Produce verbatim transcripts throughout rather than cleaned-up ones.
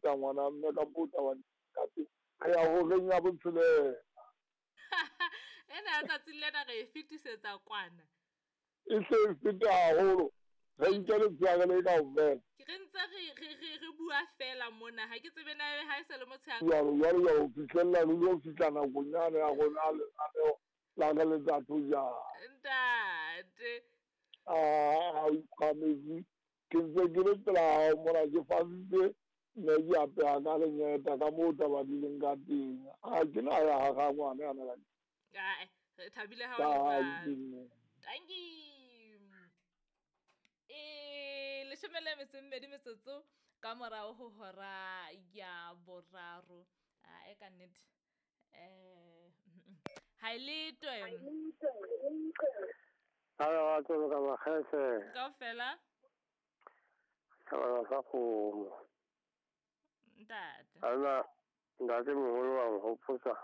feta ngwana mme ka moo taba ka teng. Re ya horeng ya botshelela. Ena ya tsatsing lena re e fetisetsa kwana. E se e feta haholo. Re nke letshehare le kaofela. Ke re ntse re re re re bua fela mona ha ke tsebe na ebe ha e se le motshehare. Jwalo jwalo jwalo ho fihlella re lo fihla nakong yane ya rona ya lenaneo la re letsa thojana. Ntate. Ah, o iphahametse. Ke ntse ke le pela hao mona ke fasitse mme ke apeha ka lengeta ka moo taba di leng ka teng. Ha ke na ya hara ngwana yana ka Ae, re thabile ha o le jwalo. Tanki. E leshome le metso e mmedi metsotso ka morao ho hora ya boraro. A e ka nnete. Eh ha e letwe. Halo, batho ka makgethe. Kaofela. Thabana sa kgomo. Ntate. Ana ntate moholo wa nkgopotsa.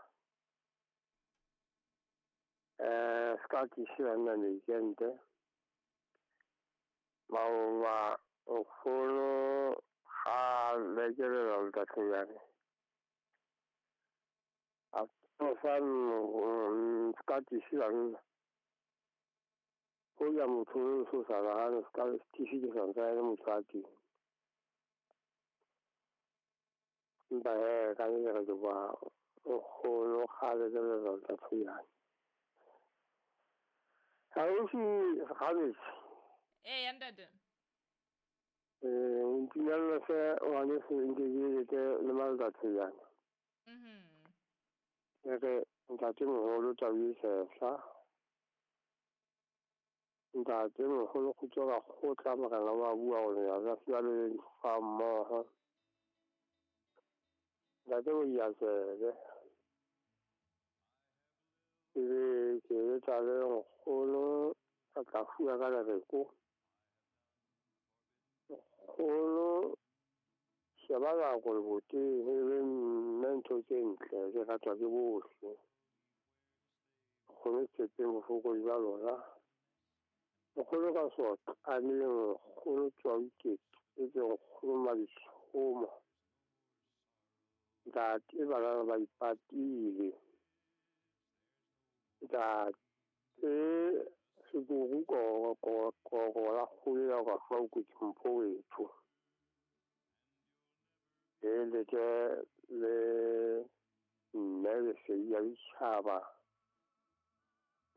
Eh, ska ke shira nna meikente. Maoba nkgono ga lekelela letatlhonyane. A tlosa ska ke shira nna. Ho ya motho o so sa nahane ska tifi ke sa ntse a le motho a teng. Empa hee ka nnete re kopa nkgono ga lekelela letatlhonyane. Ausi Gabetse. Eya ntate. Eh, ntumella se ngwaneso nke ke lete le maletatlhonyane. Mhm. E re ntatemoholo tau e sehla. Ntatemoholo kgutso ka kgotla morena wa bua hore ya ka fiwa le fa mmoho. Ntate o ya tsebe. Ebe ke letsa le nkgono ka tla fuwa ka lereko. Nkgono sheba nako leboteng e be mme ntho tse ntle di ratwa ke bohle. Nkgono tshepeng bofokodi ba lona. Nkgono ka soqaneng, nkgono tswa ikete, nkgono maditshomo. Ntate bana ba ipatile. Ntate sekuru ko ko ko la kgole ya ka fa o ke mpho wethu. E le ke le mme le se ya ditjhaba.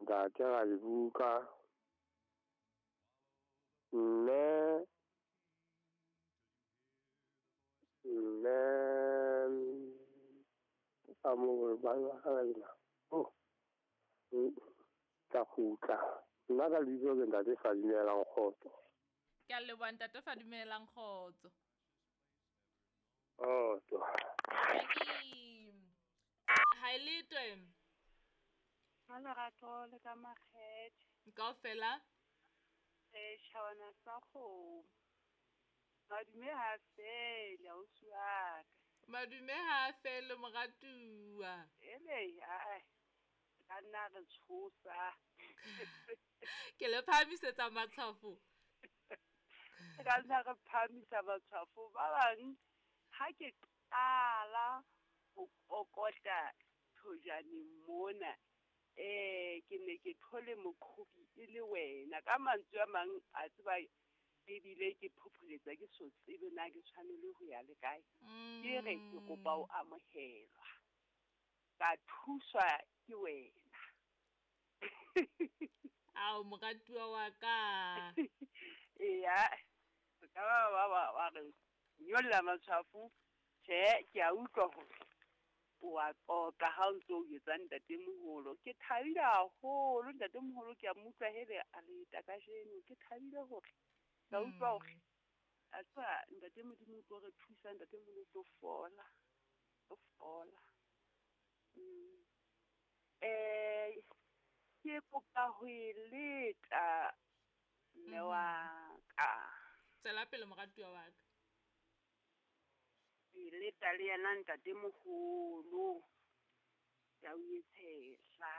Ntate ga le buka. Mme mme a mo ba ba ga oh ka kgutla. Nna ka lebitso ke ntate Fadimelang Kgotso. Ke a leboha ntate Fadimelang Kgotso. Kgotso. Ha e letwe. Ha lerato le ka makgethe. Kaofela. Eh, tjhawana sa kgomo. Madume ha fele ausi wa ka. Madume ha fele moratuwa. Ele ae. Ka nna re tshosa. Ke le phahamisetsa matshwafo. Ka nna re phahamisa matshwafo ba bang ha ke qala ho kokota thojaneng mona. Eh, ke ne ke thole moqhobi e le wena. Ka mantswe a mang a tseba ebile ke phopholetsa ke so tsebe na ke tshwanele ho ya le kae. Ke re ke kopa o amohelwa. Ka thuswa ke wena. Ao moratuwa wa ka. Eya, ka ba ba ba ba re nyolla matshwafo. Tjhe, ke a utlwa hore o a qoqa ha o ntso o etsa ntatemoholo. Ke thabile haholo ntatemoholo, ke a mo utlwa hele a leta kajeno. Ke thabile hore ka utlwa hore a tseba ntate Modimo o tlo re thusa, ntatemoholo o tlo fola, o fola. Mm. Eh, ke kopa ho e leta mme wa ka. Tswela pele moratuwa wa ka. E leta le yena ntatemoholo. Ke a o etshehla.